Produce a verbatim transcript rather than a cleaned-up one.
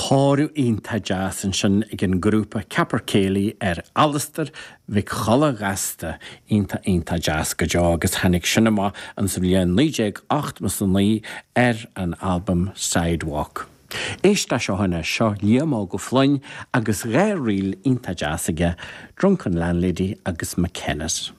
Toradh iontach deas ansin ag an grúpa Capercaillie ar Alastair Mhic Cholla Ghasta iontach iontach deas go deo agus tháinig sin amach an sa bhliain naoi déag ochtó is a naoi ar an albam Sidewalk. Éist leis seo anois seo Liam Óg Ó Floinn agus dhá ríl iontach deas aige, Drunken Landlady agus McKenna's.